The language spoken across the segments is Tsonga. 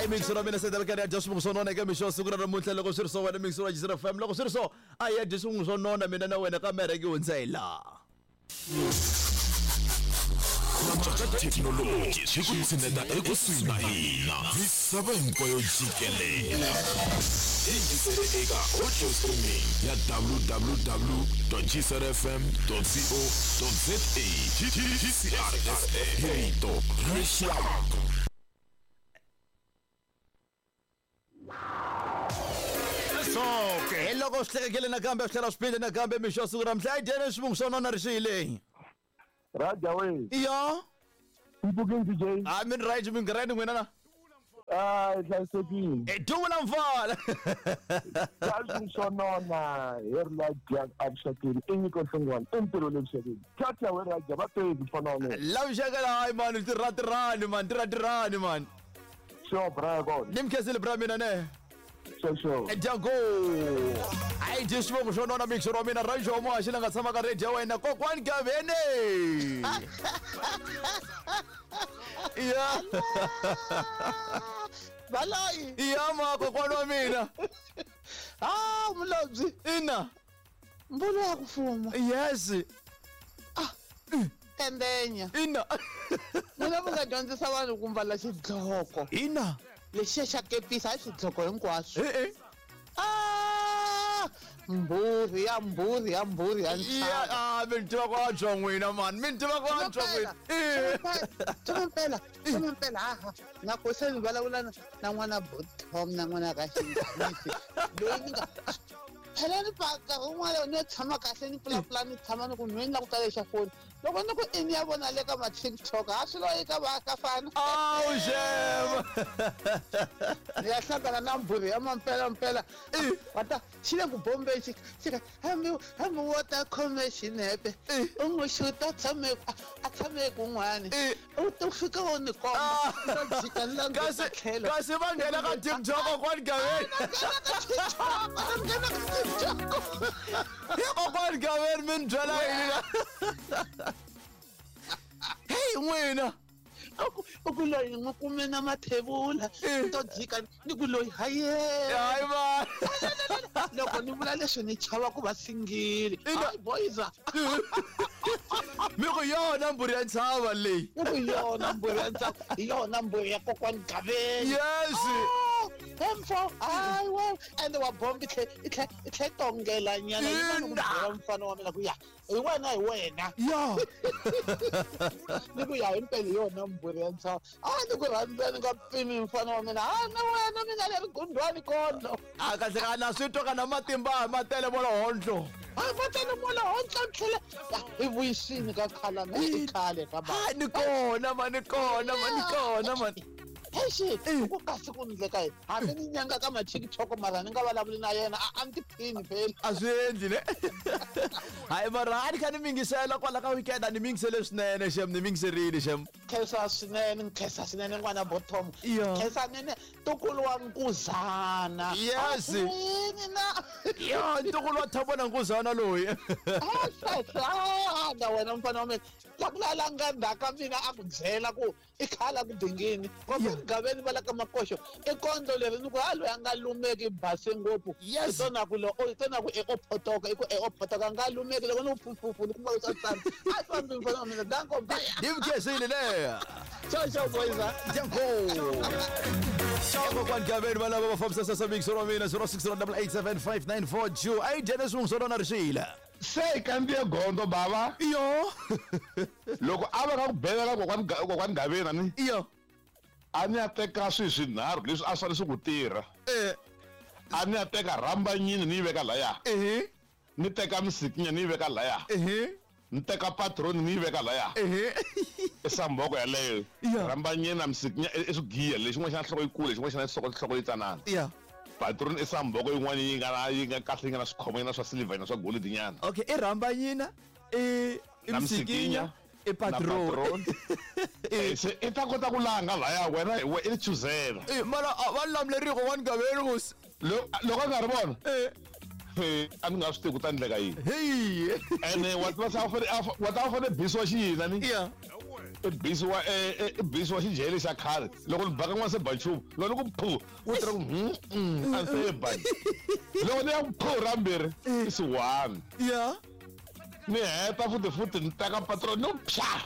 Hayi mixo ra mina se karhi ya dya swivungu swo nona eka mixo siku ra namuntlha loko swi ri so wena mixo wa Jizera FM loko swi ri so a hi ya dya swivungu swo nona mina na wena ka mereke hundza hi laha. Thekinoloji swi ku tshineta ekusuhi na hina misava hinkwayo jikelele. Yingisele eka audio streaming ya www.gcrfm.co.za. GCRFM, rito ra rixaka. Hi loko swi hlekekile nakambe swi tlhela swi phinde nakambe mixo siku ra mhla dyene swivungu swo nona ri xiyile. Raja we. Iyo. Mpfukini DJ. A mi ni right mi grand n'wina na. Ah, hlayisekile. E duvula mfana. Kazi swo nona hi ri la dya avuxakeni i nyiko nhlongwana i ntirho le vuxakeni. Thatha we Raja va teki mfana wa mina. La vuxakela hayi mani tirhatirhani mani tirhatirhani mani. Sure bra kona. Ni mi khensile bra mina ne. Sure sure. Dyango. Hayi dyi swivongo swo nona mixo wa mina Rajo wa muhaxi la nga tshama ka radio ya wena kokwani Gavene. Ya. Baloyi. Ya ma kokwani wa mina. Ah, mulobyi. Ina. Mbulo ya ku fuma. Yes. Ah. Tendenya. Ina. Mina mi nga dyondzisa vanhu ku mbala xidloko. Ina. Lexiya xa kepisa hayi swidloko hinkwaswo. Eh eh. Ah! Mbhurhi ya mbhurhi ya mbhurhi ya Ya, ah, mi ni tiva ku antswa n'wina mani, mi ni tiva ku antswa n'wina. Eh. Mpela, mpela, haha. Na ku se ni vulavula na n'wana Tom na n'wana ka Xinghezi. Loyi ni nga phela ni pa nkarhi wun'wana ni yo tshama kahle ni pulapula ni tshama ni ku nweni la ku tala xa foni. Loko ni ku i ni ya vona le ka ma TikTok, ha swi loyi ka va ka fana. Awu xem. Ni ya hlangana na mbhurhi ya mampela mpela. Va ta xi le ku bombeni xi xi ka hambi hambi wo ta khome xinepe u n'wi xuta tshame a tshame kun'wani u ta fika u ni komba ni ta jika ni languta Kasi tlhelo. kasi va nghena ka TikTok kokwani Gaveni. Nghena ka TikTok. Hi kokwani Gaveni mi ni byela yini la? Hey n'wina. U ku loyi n'wi kume na mathevula ni to jika ni ku loyi haye. Hayi va. Loko ni vula leswi ni chava ku va singili. Hayi boys. Mi ku yona mbhuri ya ntshava leyi. Ni ku yona mbhuri ya ntshava, hi yona mbhuri ya kokwani Gaveni. Yes. Emfo, hayi we ende wa bomba i tlhe i tlhe i tlhe tongela nyana yi va ni ku byela mfana wa mina ku ya hi wena hi wena. Ya. Ni ku ya himpela hi yona mbhuri ya ntshava. A ni ku rhandza ni nga pimi mfana wa mina. A na wena mina le rigundwani kondlo. A kahle ka na swi twa ka na matimba ma tele mola hondlo. A va tele mola hondlo tlhela. Hi vuyisini ka khala na i khale ka ba. Ha ni kona ma ni kona ma ni kona ma. Exi, ku kasi ku ndleka yini? Hambi ni nyanga ka ma TikTok mara ni nga vulavuli na yena a ni tiphini phela. A swi endli ne. Hayi mara a ni kha ni mingisela kwala ka weekend a ni mingisele swinene xem ni mingiserile xem. Khensa swinene, nkhensa swinene n'wana Bottom. Iya. Khensa nene ntukulu wa Nkuzana. Yes. Yini na? Ya ntukulu wa Thabo na Nkuzana loyi. Ah, na wena mfana wa mina. La ku la nga ndzhaka mina a ku byela ku i khala ku dingini. Kokwani Gaveni va la ka Makoxo i kondlo leri ni ku ha loyi a nga lumeki base ngopfu. Yes. I tona ku lo i tona ku e o photoka i ku e o photoka nga lumeki loko ni ku fufufu ni kuma ku swa tsana. A fambi mfana wa mina danko bye. Ni mkhesile le. Ciao ciao boys. Danko. Ciao kokwani Gaveni va lava va fambisa sasa mixo wa mina 06887594 Ai Dennis Mungsolona ri xile. Se hi kandziye gondzo bava. Iyo. Loko a va nga ku bela ka kokwani Gaveni ani. Iyo. A ni ya teka swilo swinharhu leswi a swi fanele swi ku tirha. Eh. A ni ya teka rhambanyini ni yi veka laya. Eh. Ni teka misikinya ni yi veka laya. Eh. Ni teka patroni ni yi veka laya. Eh. I samboko yaleyo. Rhambanyini na misikinya i swigiya lexin'wana xa nhloko yikulu lexin'wana xa nhloko yitsanana. Ya. Patroni i samboko yin'wana yi nga na yi nga kahle yi nga na swikhomo yi na swa silver na swa gold nyana. Okay, i rhambanyina i Na misikinya misikinya, i patroni. patroni. Se i ta kota ku langa laya wena hi i chuzela. Eh, mara va lamuleriwa kokwani Gaveni musi. Loko a nga ri vona. Eh. A ni nga swi tivi ku ta endleka yini. Hey. Ene wa tiva wa ta fanele bisiwa xiyini ani? Yeah. I bisiwa i bisiwa xijele xa khale loko ni baka n'wana se ba nchumu loko ni ku phu wu tirha ku a se ba loko ni ya ku phu ra mbirhi i si one ya ni heta futhi futhi ni teka patrol ni ku phya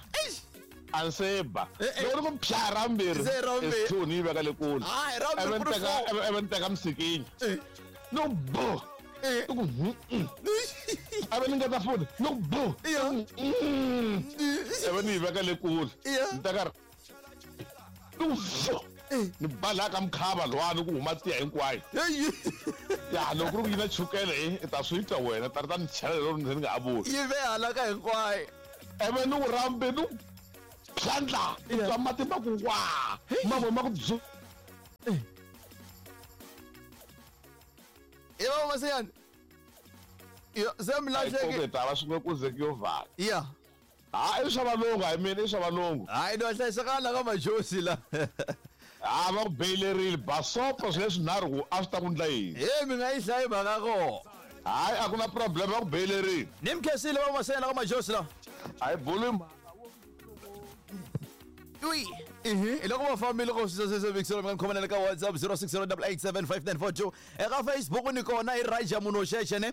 a ni se ba loko ni ku phya ra mbirhi Se ra mbirhi. i two ni yi veka le kule Hayi, ra mbirhi Ivi ku ni ri teka four. ivi ni teka misikinya ni ku bu Eh. ni ku ivi ni ngeta futhi ni ku bu Ya. Ivi ni yi veka le kule Ya. ni teka ni ku fu ni ba laha ka mukhava luwani ku huma tiya hinkwayo Hey, ya loko ku ri ku yi na chukele i ta swi twa wena ta ri ta ni chela lero ni nga ha vuli yi ve hala ka hinkwayo ivi ni ku rambe ni ku phyandla ni Yeah. twa mati ma ku wa mavoko ma ku byu i va masiyani yo se mi lahleke hi ta va swin'we ku ze ku yo vhala ya ha i swa valungu hayi mina i swa valungu hayi no hlayisekanga ka majosi la ha va ku beyilerile basopo swi leswi nharhu ku a swi ta ku ndla yini he mi nga yi hlayi mhaka koho hayi a ku na problem va ku beyilerile ni mi khensile va masiyani la ka majosi la a yi buli Ui. Hi loko va fambile ko swisesese mi nga ni khomanela ka WhatsApp 0608875942 eka Facebook ni kona i Raja munhu wo xexe ne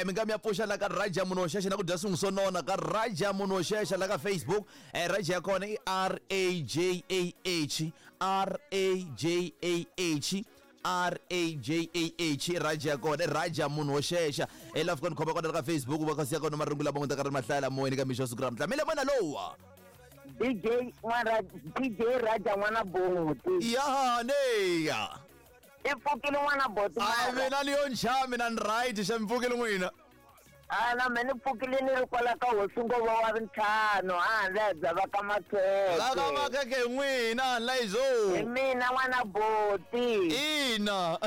mi nga mi ya pfuxa la ka Raja munhu wo xexe na ku dya swin'we swo nona ka Raja munhu wo xexa la ka Facebook Raja ya kona i R A J A H R A J A H R A J A H Raja ya kona i Raja munhu wo xexa hi la fika ni khoma kona la ka Facebook va kha siya kona marungu lama n'wi ta ka ri mahlaya moyeni ka mixo wa siku ra namuntlha mi le mona lowa DJ n'wana DJ Raja n'wana boti ya neya i pfukile n'wana boti a mina ni yo ncha mina ni right xa mi pfukile n'wina a na me ni pfukile ni ri kwala ka hosi ngova wa ntlhanu a handle bya va ka la ka makheke makhekhe hi n'wina laizo hi mina n'wana boti ina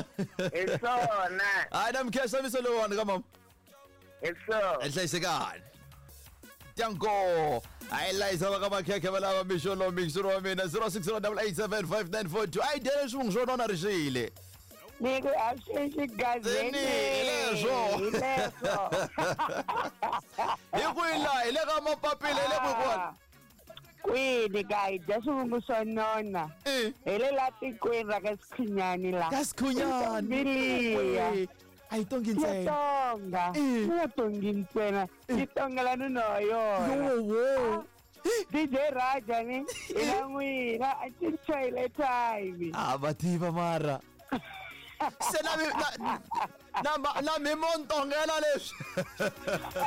hi swona hayi na mi khensa miso lowuwani ka mama hi swona hlayisekani tanko hayi layisa va ka makhekhe va lava mixo lowu mixo wa mina 0608875942 a yi dyele swivungu swo nona rixile ni ku a swi xigazeni Zeni, hi leswo. hi leswo hi kwihi laha hi le ka mapapila hi le kwihi kwini ka hi dya swivungu swo nona I hi le la tikweni ra ka Sikhunyani la ka Sikhunyani Biliya. a yi tongi ntsena Tonga Eh. ni tongi ntsena ni tongela nuna wa yona yowowo DJ Raja ni ina n'wina a cinchayile time a va tiva mara se na na mi mo ntongela leswi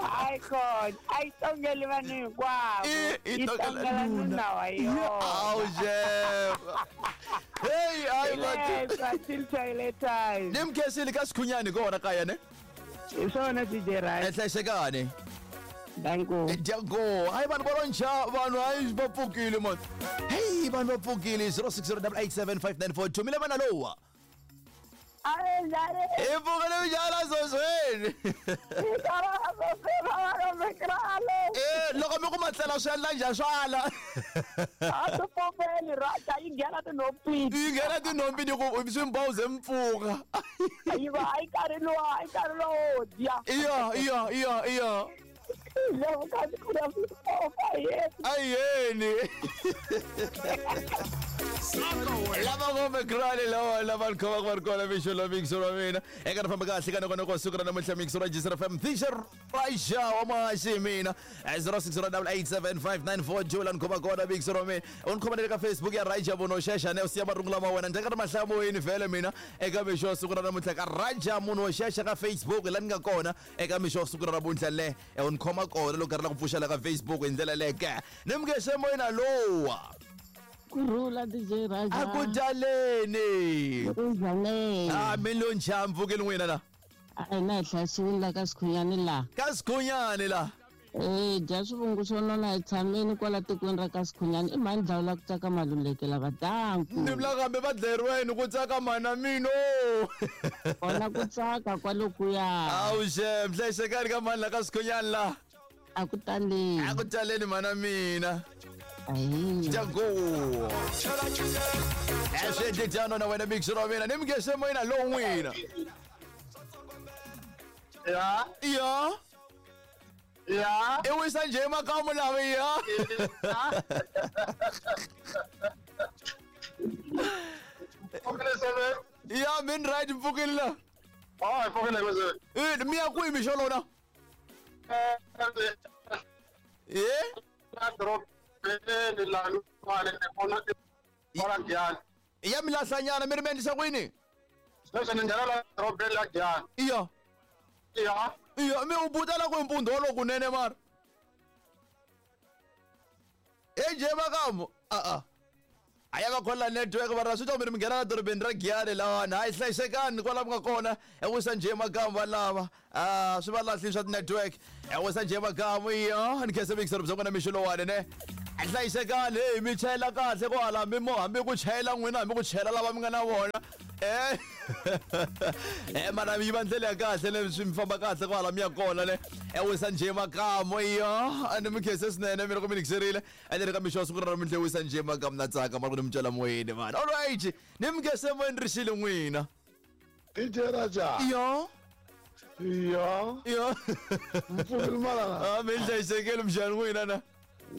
hayi khona a yi tongeli vanhu hinkwavo I yi tongela nuna wa yona awu jefa heyi hayi va leswo a cinchayile time ni mi khensile ka Sikhunyani kona kaya ne hi swona DJ Raja hlayisekani danko dyango hayi vanhu va lo ncha vanhu hayi va pfukile man heyi vanhu va pfukile 0608875942 mi le vana lowa hi pfukile mijala zozweni e loko mi ku matlela swi endla njhani swa ala a swi pfumeli Raja yi nghena tinhompini yi nghena tinhompi ni ku swi mbawuze mi pfuka yi va a yi karhi luwa a yi karhi lowo dya iya iya iya iya loko kasi ku na swifofa yena ayeni lava ngopfu krale lawa lava ni khomaka va ri kona mixo lowu mixo wa mina eka ri famba kahle ka nongonoko wa siku ra namuntlha mixo ra jisr fm thisha raxa wa maxi hi mina 0608875942 la ni khoma kona mixo wa mina u ni khoma na le ka Facebook ya Raja munhu wo xexa ne u siya marungu lama wena ni ka ri mahlaya moyeni vhele mina eka mixo wa siku ra namuntlha ka Raja munhu wo xexa ka Facebook la ni nga kona eka mixo wa siku ra namuntlha le u ni khoma kona loko karhi la ku pfuxela ka Facebook hi ndlela leyo ke ni mi nge moyena lowa Kurhula DJ Raja. a ku dyaleni Unjhani? a mi lo ncha mpfukeni n'wina la A hina hi hlayisiwile la ka Sikhunyani la. ka Sikhunyani la Eh dya swivungu swo nona hi tshameni kwala tikweni ra ka Sikhunyani i mhani dlawula ku tsaka maluleke lava danku. ni vula kambe va dlayeriweni ku tsaka mana mino Kona ku tsaka kwalokuya. awu xem hlayisekani ka mani la ka Sikhunyani la A ku taleni. a ku taleni mana mina Ahi. dyango eswi dyano na wena mixo wa mina ni mi nge moyena lowu n'wina ya ya Ya. I wisa njhe makamu lava ya. Pfukile seve. Ya min right mpfukile la. Oh, hi pfukile seve. Eh, mi ya kwihi mixo lona? Eh, Eh? la dorobeni la ni vona kwala Giyani. Ya mi lahlanyana mi ri mi endlisa ku yini? Sweswi ni nghena la dorobeni la Giyani. Iya. Ya. Iya, mi u butela ku mpundhu wolowo kunene mara. E njhe makamu? A-a. A ya va khola network mara swi ta mi ri mi nghena la dorobeni ra Giyani lawani. Hayi hlayisekani kwala mi nga kona. E wisa njhe makamu va lava. Ah, swi va lahli swa ti-network. E wisa njhe makamu iya. Ni khensa mixer bya n'wina mixo lowani ne. Hlayisekani hey mi chayela kahle kwala hambi mo hambi ku chayela n'wina hambi ku chayela lava mi nga na vona. Eh. Eh mana yi va ndlela ya kahle le swi mi famba kahle kwala mi ya kona le. E wisa njhe makamu iya. Ni mi khense swinene mi loko mi nikiserile. Ene ri ka mixo wa siku ra namuntlha wisa njhe makamu na tsaka mara ku ni mi twela moyeni mani. All right. Ni mi khense moyeni ri xile n'wina. DJ Raja. Iyo. Ya. Iyo. Mpfukile malana. Ah mi hlayisekile mxani n'wina na.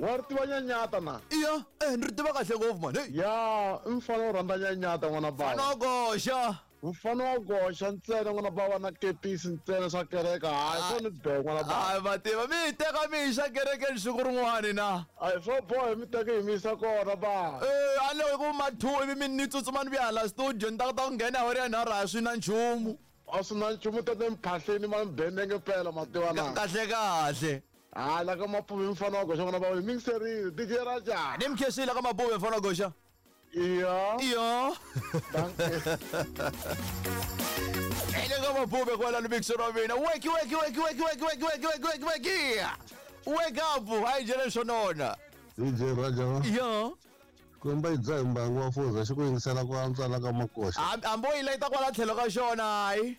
Wa ri tiva nyanyata na. Iya, eh ni ri tiva kahle ngopfu mani. Hey. Ya, i mfana wo rhandza nyanyata n'wana bava. Fana koxa. Mfana wa goxa ntsena n'wana bava na kepisi ntsena swa kereke. Hayi swo ni be n'wana bava. Hayi va tiva mi hi teka mi yixa kerekeni siku rin'wani na. Hayi swo boha mi teke hi mi yisa kona ba. Eh, a loko ku ma 2 ivi mi ni tsutsuma ni vuya hala studio ni ta kota ku nghena awara ya nharhu a swi na nchumu. A swi na nchumu tete mphahleni ma mi benenge mpela ma tiva na. Kahle kahle. Hayi la ka Mapuve mfana wa goxa n'wana bava hi mingiserile DJ Raja. Ni mi khensile ka Mapuve mfana wa goxa. Iya. Iyo. Ele ka Mapuve kwala lumikiselo wa mina. Weki weki weki weki weki weki weki weki weki weki. Wake up, hayi njhe leswo nona. DJ Raja. Iyo. Komba yi dzaha mbangu wa fuza xi ku yingisela ku antswa la ka makoxa. Hambi wo yi layita kwala tlhelo ka xona hayi.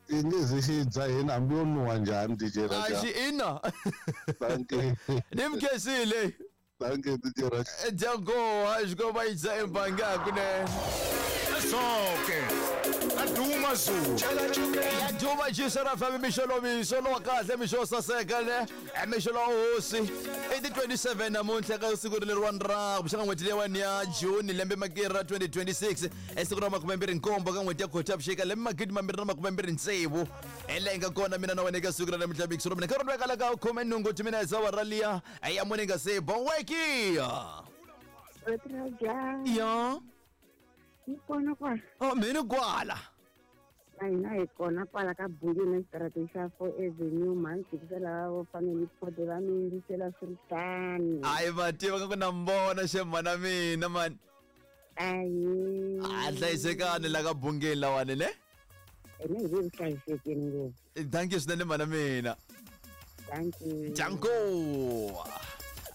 I nge ze xi dzahini hambi yo nuha njhani DJ A Raja. xi ina. Thank you. Ni mi khensile. Thank you DJ Raja. Dyango, xikomba yi dza embangi hakunene. Sonke. Aduma Zulu. Ya duma jisera fami mixo mixo lowa kahle mixo wo saseka ne mixo lowa hosi i ti 27 namuntlha ka siku leriwani ra kuxaka n'hweti leyiwani ya June lembe makiri ra 2026 e siku ra 27 ka n'hweti ya Khotavuxika lembe 2026 hi laha hi nga kona mina na wena eka siku ra namuntlha mixo mina nkarhi lowu vekala ka 18 timinetse awara liya ya mune nga se boweki Raja. Ya. Yi kona kwala. Oh, mina kwala. Na hina hi kona kwala ka Bungeni xitarateni xa 4 Avenue mhani tikisela vo family pod va mi yingisela swiritano. Hayi va tiva ka ku na mbona xemana mina mani. Ayi. A hlayisekani la ka Bungeni lawani ne? Ene hi le ku hlayisekeni ngopfu. Thank you swinene mana mina. Thank you. Janko.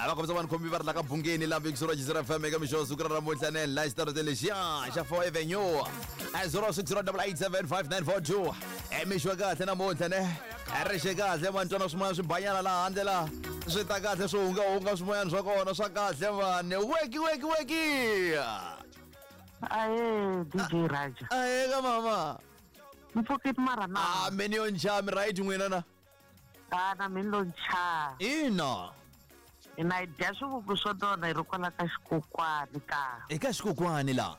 A va kombisa vanhu khombi va ri la ka Bungeni la Vixoro Jizera FM eka mixo siku ra namuntlha ne la xitarateni lexiya xa 4 Avenue. 0608875942. E mixo wa kahle namuntlha ne. Ri xe kahle mani twana swimoya swi banyana laha handle laha. Swi ta kahle swi hungahunga swimoyana swa kona swa kahle mani. Weki weki weki. Aye, DJ Raja. Aye ka mama. Mpfukile mara na. Ah, mini yo nchami right n'wina na. Ah, na mina lo ncha. Ina. Hina hi dya swivungu swo nona hi ri kwala ka xikokwani ka. Eka xikokwani la.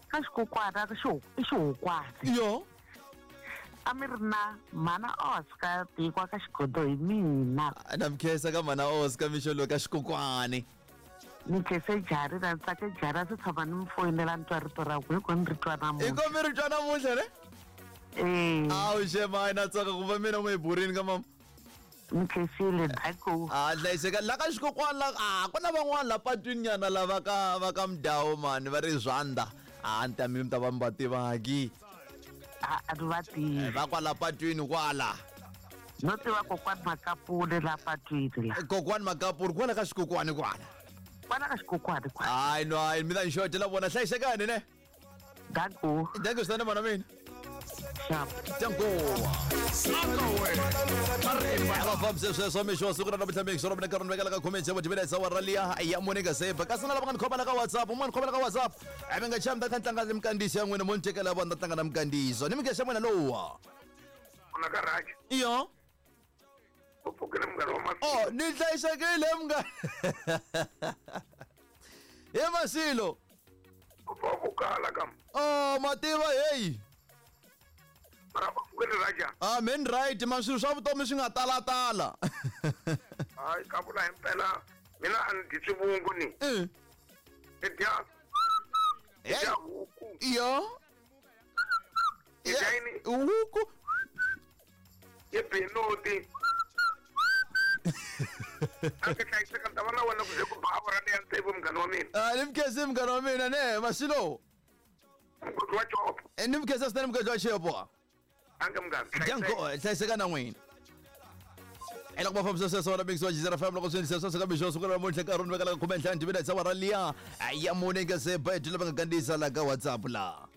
Ka xikokwani a i xihukwani. Yo. A mi ri na mhana Oscar tikwa ka xigodo hi mina. Na mi khensa ka mhana Oscar mixo lowu ka xikokwani. Ni khense jari na ni tsake jari a swi tshama ni mi foyinela ni twa rito ra ku hi ko ni ri twa namuntlha. Hi ko mi ri twa namuntlha ne? Eh. Awu xema na tsaka ku va mina n'wi burini ka mama. Ni khensile danko. A hlayiseka la ka xikokwani la a ku na van'wana la patwini nyana lava ka va ka Mdawu mani va ri Zwanda. A ni ta mi ta va mi va tivaki. A ni va tivi. Va kwala patwini kwala. No tiva kokwani Makapule la patwini la. Kokwani Makapule kwala ka xikokwani kwala. Kwala ka xikokwani kwala. Hayi no hayi mi ta ni xotela vona hlayisekani ne. Danko. Danko swinene mana mina. Danko. Va fambise sweswo mixo siku ra namuntlha mixo ra mina nkarhi ni vekela ka khume tsevu timinetse awara liya ya mune nga seba kasi na lava nga ni khoma la ka WhatsApp un'wana khoma la ka WhatsApp a mi nga chami ta kha ni tlanga ni mikandziyiso ya n'wina mo ni tekela vona ta tlanga na mikandziyiso ni mikhexa n'wina lowa Kuna ka Raja. Iyo. U pfukile munghana wa Masilo. Oh, ni hlayisekile munghana. He Masilo. U pfa ku kala kam. Oh, mativa hey. Mara u pfukile Raja. Ah, men right, man swilo swa vutomi swi nga talatala. Hayi ka vula himpela mina a ni dyi swivungu ni. Ni dya ni dya huku. Yo. Ni dya yini? Huku. Ni binoti. A ndzi hlayiseka ni ta va na wena ku ze ku ba awara leya tsevu munghana wa mina. Ah, ni mukhensi munghana wa mina ne Masilo. Mugodi wa Chopo. Eh, ni mukhensi swinene mugodi wa Chopo. Ange munghana. Danko, hlayiseka na n'wina. Ela ku va fambisa sweswo na mix wa Jizera FM loko swi endlisa sweswo ka mixo siku ra namuntlha nkarhi wu ni vekela ka 15 timinetse awara liya ya mune nga se ba hi lava nga kandziyisa la ka WhatsApp la.